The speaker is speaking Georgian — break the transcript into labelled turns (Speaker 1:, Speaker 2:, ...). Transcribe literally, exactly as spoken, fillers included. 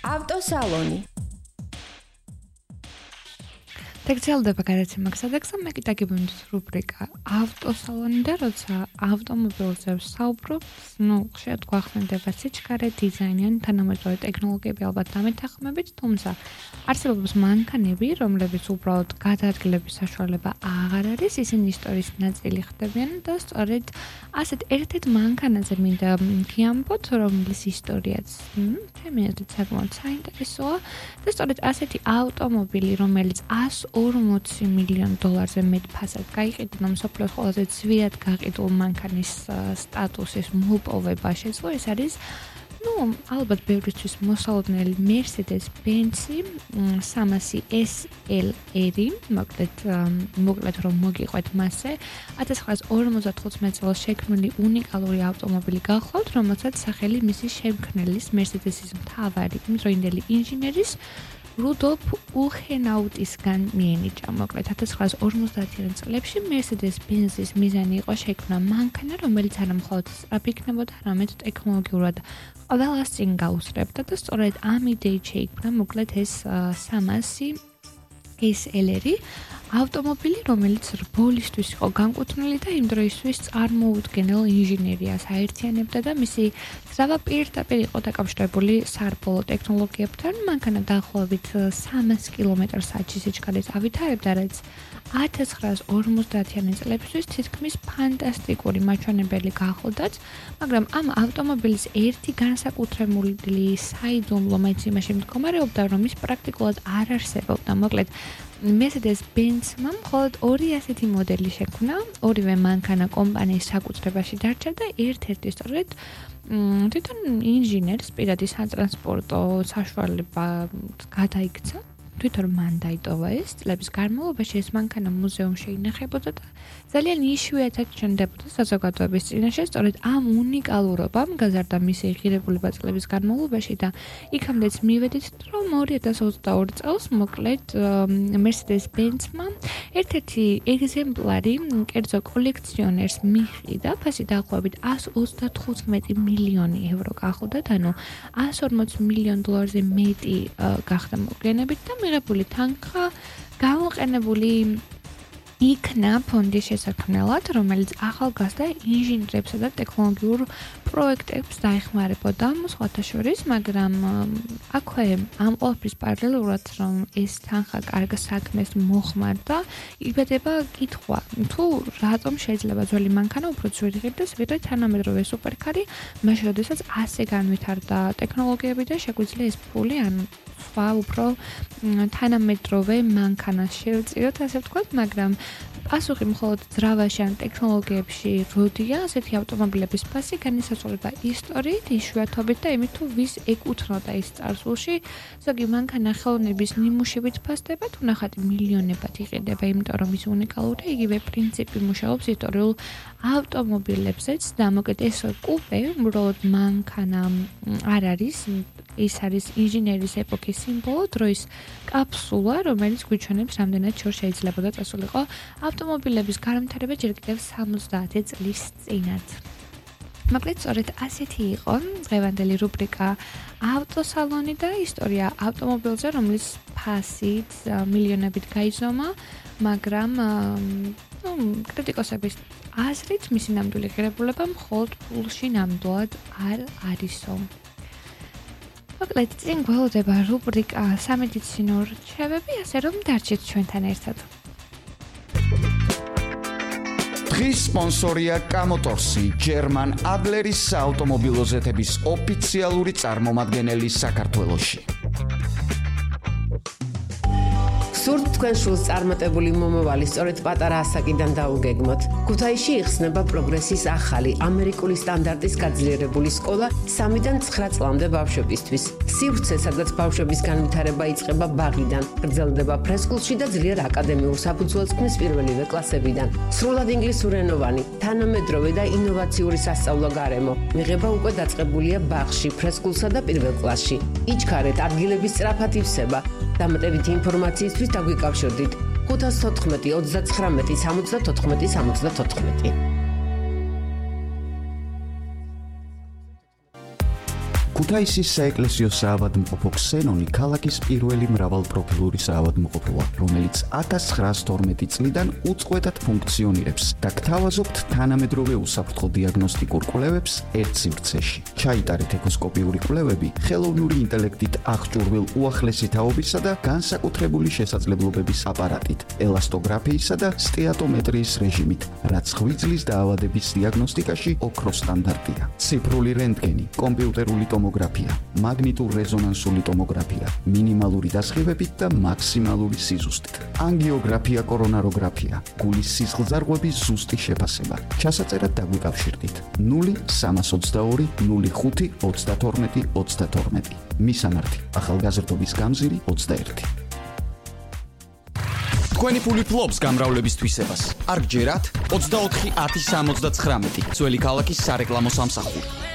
Speaker 1: ავტოსალონი.
Speaker 2: დაგრძელდება გადაცემა გასადაგსა, მე კიდე გიბუნდით რუბრიკა ავტოსალონი და როცა ავტომობილზე ვსაუბრობ, ну, ხშირად გვახსენდება სიჩქარე, დიზაინი ან თანამედროვე ტექნოლოგიები ალბათ დამეთანხმებით, თუმცა არსებობს მანქანები, რომლებიც უბრალოდ გადაადგილების საშუალება აღარ არის, ისინი ისტორიის ნაწილი ხდებიან და სწორედ ასეთ ერთ-ერთ მანქანაზე მინდა გიამბოთ, რომლის ისტორიაც ჩემი აზრით საკმაოდ საინტერესოა და სწორედ ასეთი ავტომობილი, რომელიც ას ორმოცი მილიონი დოლარზე მეტ ფასად გაიყიდა, მსოფლიოს ყველაზე ძვირად გაყიდულ მანქანის სტატუსის მოპოვება შეძლო, ეს არის ну, ალბათ ბევრისთვის მოსალოდნელი Mercedes-Benz სამასი ეს ელ არი, მოკლედ, მოკლედ რომ მოგიყვეთ მასზე, ათას ცხრაასი ორმოცდახუთმეტ წელს შექმნილი უნიკალური ავტომობილი გახლავთ, რომელსაც სახელი მისი შემქმნელის Mercedes-ის მთავარი იმდროინდელი ინჟინერის რუდოლფ უხენაუტისგან მიენიჭა. მოკლედ ათას ცხრაასი ორმოცდაათი წლებში Mercedes-Benz-ის მიზანი იყო შექმნა მანქანა, რომელიც არა მხოლოდ სწრაფი იქნებოდა, არამედ ტექნოლოგიურად ყველას წინ გაუსწრებდა და სწორედ ამ იდეით შეიქმნა მოკლედ ეს სამასი ეს ელ არი ავტომობილი, რომელიც რბოლისთვის იყო განკუთვნილი და იმ დროისთვის წარმოუდგენელ ინჟინერიას აერთიანებდა და მისი ძრავა პირდაპირ იყო დაკავშირებული სარბოლო ტექნოლოგიებთან. მანქანა დაახლოებით სამას კილომეტრ საათში სიჩქარით ავითარებდა, რაც ათას ცხრაასი ორმოცდაათი წლებისთვის თითქმის ფანტასტიკური მაჩვენებელი გახლდათ, მაგრამ ამ ავტომობილის ერთი განსაკუთრებული საიდუმლო მაინც იმაში მდგომარეობდა, რომ ის პრაქტიკულად არ არსებობდა. მოკლედ Mercedes-Benz-მა მხოლოდ ორი ასეთი მოდელი შექმნა, ორივე მანქანა კომპანიის საკუთრებაში დარჩა და ერთ-ერთი სწორედ თვითონ ინჟინერს პირადი სატრანსპორტო საშუალება გადაიქცა. თვითონ მან დაიტოვა ეს წლების განმავლობაში ეს მანქანა მუზეუმში ინახებოდა და ძალიან იშვიათად ჩნდებოდა საზოგადოების წინაშე. სწორედ ამ უნიკალურობამ გაზარდა მისი ღირებულება წლების განმავლობაში და იქამდეც მივედით, რომ ორი ათას ოცდაორი წელს მოკლედ Mercedes-Benz-მა ერთ-ერთი ეგზემპლარი კერძო კოლექციონერს მიჰყიდა, ფასი დაახლოებით ას ოცდათხუთმეტი მილიონი ევრო გახლდათ, ანუ ას ორმოცი მილიონი დოლარზე მეტი გახდა მოგვიანებით და მიღებული თანხა გამოყენებული იქნა ფონდის შესაქმნელად, რომელიც ახალგაზრდა ინჟინრებსა და ტექნოლოგიურ პროექტებს დაეხმარებოდა სხვათა შორის, მაგრამ აქვე ამ ყველაფრის პარალელურად, რომ ეს თანხა კარგ საქმეს მოხმარდა, იბადება კითხვა, თუ რატომ შეიძლება ძველი მანქანა უფრო ძვირი ღირდეს, ვიდრე თანამედროვე სუპერკარი, მაშინ როდესაც ასე განვითარდა ტექნოლოგიები და შეგვიძლია ეს ფული ან სხვა უფრო თანამედროვე მანქანას შევწიოთ, ასე ვთქვათ, მაგრამ პასუხი მხოლოდ ძრავაში ან ტექნოლოგიებში როდია, ასეთი ავტომობილების ფასი განისაზღვრება ისტორიით, იშვიათობით და იმით, თუ ვის ეკუთვნოდა ის წარსულში. ზოგი მანქანა ხელოვნების ნიმუშებით ფასდება, თუ ნახატი მილიონებად იყიდება, იმიტომ რომ ის უნიკალური, იგივე პრინციპი მუშაობს ისტორიულ ავტომობილებზეც და მოკლედ ეს კუპე უბრალოდ მანქანა არ არის, ის არის ინჟინერის ეპოქის სიმბოლო, დროის კაფსულა, რომელიც გვიჩვენებს რამდენად შორს შეიძლებოდა წასულიყო ავტომობილების განვითარება ჯერ კიდევ სამოცდაათი წლის წინათ. მოკლედ სწორედ ასეთი იყო დღევანდელი რუბრიკა ავტოსალონი და ისტორია ავტომობილზე, რომლის ფასით მილიონებით გაიზომა, მაგრამ ну, კრიტიკოსების აზრით მისი ნამდვილი ღირებულება მხოლოდ ფულში ნამდვილად არ არისო. მოკლედ წინ გველოდება რუბრიკა სამედიცინო რჩევები, ასე რომ დარჩით ჩვენთან ერთად.
Speaker 3: დღის სპონსორია კამოტორსი, ჯერმან ადლერის საავტომობილო ზეთების ოფიციალური წარმომადგენელი საქართველოში.
Speaker 4: სურთ თქვენ შულს წარმატებული მომავალი სწორედ პატარა ასაკიდან დაუგეგმოთ. ქუთაისში იხსნება პროგრესის ახალი ამერიკული სტანდარტის გაძლიერებული სკოლა სამიდან ცხრა წლამდე ბავშვებისთვის. სივრცე, სადაც ბავშვების განვითარება იწყება ბაღიდან, გრძელდება ფრესკულში და ძლიერ აკადემიურ საფუძველს ქმნის პირველივე კლასებიდან. სრულად ინგლისურენოვანი, თანამედროვე და ინოვაციური სასწავლო გარემო. მიღება უკვე დაწყებულია ბაღში, ფრესკულსა და პირველ კლასში. იჩქარეთ, ადგილების სწრაფად ივსება. დამატებითი ინფორმაციისთვის დაგვიკავშირდით ხუთას თოთხმეტი ოცდაცხრამეტი სამოცდათოთხმეტი სამოცდათოთხმეტი.
Speaker 3: ქუთაისის საეკლესიო საავადმყოფო ქსენონი ქალაქის პირველი მრავალპროფილური საავადმყოფოა, რომელიც ათას ცხრაას თორმეტი წლიდან უწყვეტად ფუნქციონირებს და გთავაზობთ თანამედროვე უსაფრთხო დიაგნოსტიკურ კვლევებს ერთ სივრცეში. ჩაიტარეთ ეკოსკოპიური კვლევები ხელოვნური ინტელექტით აღჭურვილ უახლესი თაობისა და განსაკუთრებული შესაძლებლობების აპარატით, ელასტოგრაფიისა და სტეატომეტრიის რეჟიმით, რაც ღვიძლის დაავადების დიაგნოსტიკაში ოქროს სტანდარტია. ციფრული რენტგენი, კომპიუტერული ტომოგრაფია, მაგნიტურ-რეზონანსული ტომოგრაფია, მინიმალური დასხივებით და მაქსიმალური სიზუსტით. ანგიოგრაფია, კორონაროგრაფია, გულის სისხლძარღვების ზუსტი შეფასება. ჩასაწერად დაგვიკავშირდით ნული სამას ოცდაორი ნული ხუთი ოცდათორმეტი ოცდათორმეტი. მისამართი: ახალგაზრდობის გამზირი ოცდაერთი. თქვენი ფული ფლობს გამრავლების თვისებას. არ გჯერათ? ოცდაოთხი ათი სამოცდათხრამეტი. ძველი ქალაქის სარეკლამო სამსახური.